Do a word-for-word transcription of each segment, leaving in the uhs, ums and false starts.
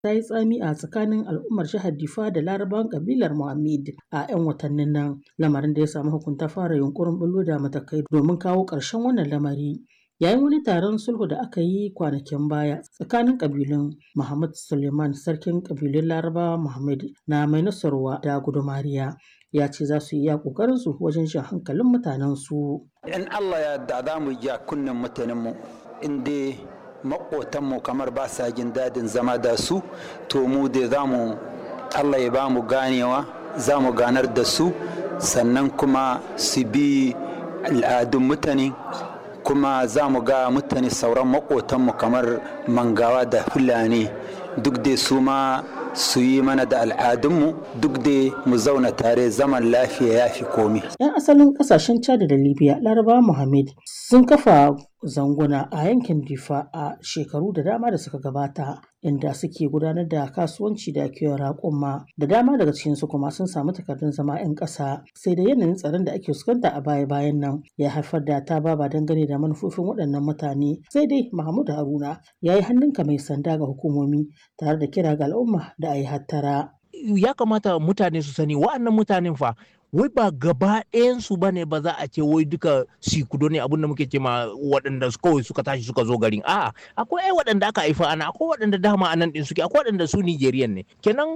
Ta yi tsami a tsakanin al'ummar jihar Difa da Larabawan ƙabilar Mohammed a 'yan watannin nan, lamarin da ya sa mahukunta fara yunƙurin ɓullo da matakai domin kawo ƙarshen wannan lamari. Yayin wani taron sulhu da aka yi kwanakin baya tsakanin ƙabilun, Mohammed Suleiman, sarkin ƙabilun Larabawa Mohammed na Mainasarwa da Gudumariya, ya ce za su yi iya ƙoƙarinsu wajen jan hankalin mutanensu. In Allah ya yarda za mu ja kunnen mutanenmu in dai maƙotanmu kamar ba sa jin dadin zama da su, to mu dai za mu Allah ya ba mu ganewa, za mu ganar da su, sannan kuma su bi al'adun mutane, kuma za mu ga mutane sauran maƙotanmu kamar Mangawa da Fulani, duk dai su ma su yi mana da al'adunmu, duk dai mu zauna tare, zaman lafiya ya fi komi. 'Yan asalin kasashen Chad da Libya, Larabawa Mohammed sun kafa zanguna a yankin Difa a shekaru da dama da suka gabata, inda suke gudanar da kasuwanci da kiwon raƙuma. Da dama daga cikinsu kuma sun samu takardun zama 'yan ƙasa. Sai da yanayin tsaron da ake fuskanta a baya-bayan nan ya haifar da tababa dangane da manufofin waɗannan mutane. Sai dai Mahmud Haruna ya yi hannunka mai sanda ga hukumomi tare da kira ga al'umma da a yi hattara. Ya kamata mutane su sani wa'annan mutanen fa wai ba gaba ɗayansu ba ne ba za a ce wai duka sikudo ne, abin da muke ce ma waɗanda kawai suka tashi suka zo garin. A'a, akwai ai waɗanda aka haifa ana, akwai waɗanda dama anan ɗin suke, akwai waɗanda su Nigerian ne. Kenan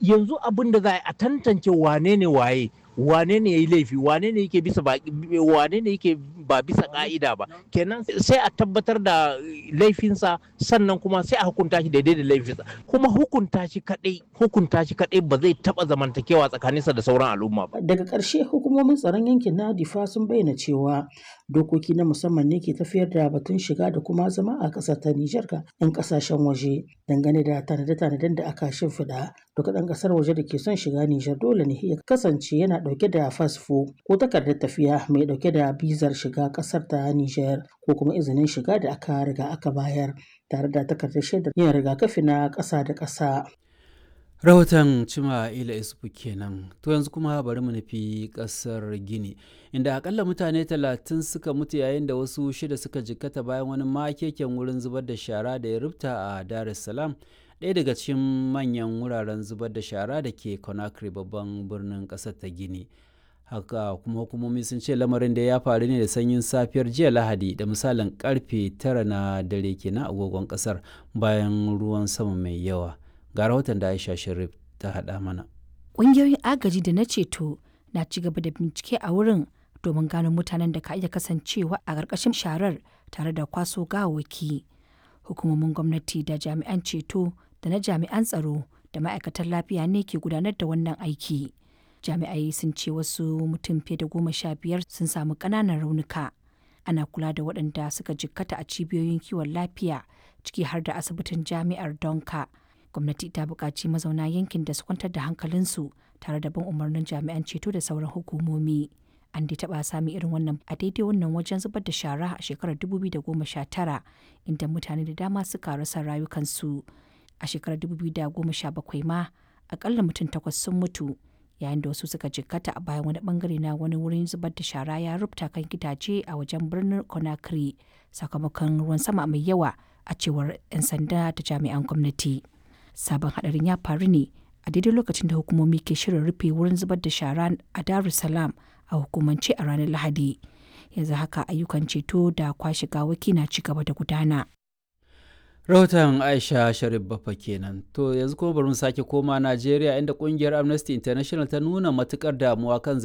yanzu abin da za a tantance wane ne waye, wane ne yayi laifi, wane ne yake bisa ba, wane ne yake ba bisa ka'ida ba. Kenan sai a tabbatar da laifinsa, sannan kuma sai a hukunta shi daidai da laifinsa. Kuma hukunta shi kadai hukunta shi kadai ba zai taba zamantakewa tsakaninsa da sauran al'umma ba. Daga ƙarshe, hukumomin tsaron yankin na Difa sun bayyana cewa dokoki na musamman ne ke tafiyar da batun shiga da kuma zama a ƙasar ta Nijar ga 'yan ƙasashen waje. Dangane da tanade-tanaden da aka shimfiɗa, duk ɗan ƙasar waje da ke son shiga Nijar dole ne ya kasance yana ɗauke da fasfo ko takardar tafiya mai ɗauke da bizar shiga ƙasar ta Nijar ko kuma izinin shiga da aka riga aka bayar tare da takardar shaidar yin rigakafi na ƙasa da ƙasa. Rahoton Cima Ila Isufu kenan. To yanzu kuma bari mu nufi kasar Gini, inda akalla mutane talatin suka mutu yayin da wasu shida suka jikkata bayan wani makeken wurin zubar da shara da ya rubta a Dar es Salaam, ɗaya daga cikin manyan wuraren zubar da shara da ke Conakry, babban birnin ƙasar ta Gini. Haka kuma hukumomi sun ce lamarin da ya faru ne da sanyin safiyar jiya Lahadi, da misalin karfe tara na dare kenan agogon kasar, bayan ruwan sama mai yawa. Ga rahoton da Aisha Sharif ta haɗa mana. Ƙungiyoyin agaji da na ceto na ci gaba da bincike a wurin domin gano mutanen da ka iya kasancewa a ƙarƙashin sharar tare da kwaso gawawwaki. Hukumomin gwamnati da jami'an ceto da na jami'an tsaro da ma'aikatan lafiya ne ke gudanar da wannan aiki. Jami'ai sun ce wasu mutum fiye da goma sha biyar sun samu ƙananan raunuka. Ana kula da waɗanda suka jikkata a cibiyoyin kiwon lafiya, ciki har da asibitin jami'ar Donka. Gwamnati ta buƙaci mazauna yankin da su kwantar da hankalinsu tare da bin umarnin jami'an ceto da sauran hukumomi. An dai taɓa sami irin wannan a daidai wannan wajen zubar da shara a shekarar dubu biyu da goma sha tara, inda mutane da dama suka rasa rayukansu. A shekarar dubu biyu da goma sha bakwai ma, akalla mutum takwas sun mutu yayin da wasu suka jikkata a bayan wani bangare na wani wurin zubar da shara ya rubta kan gidaje a wajen birnin Conakry sakamakon ruwan sama mai yawa, a cewar 'yan sanda da jami'an gwamnati. Sabon hadarin ya faru ne a daidai lokacin da hukumomi ke shirin rufe wurin zubar da shara a Dar es Salaam a hukumance a ranar Lahadi. Yanzu haka ayyukan ceto da kwashe gawaki na ci gaba da gudana. Rahoton Aisha Sharif Bafa kenan. To yanzu kuma bari mu sake koma Najeriya, inda kungiyar Amnesty International ta nuna matukar damuwa kan zargin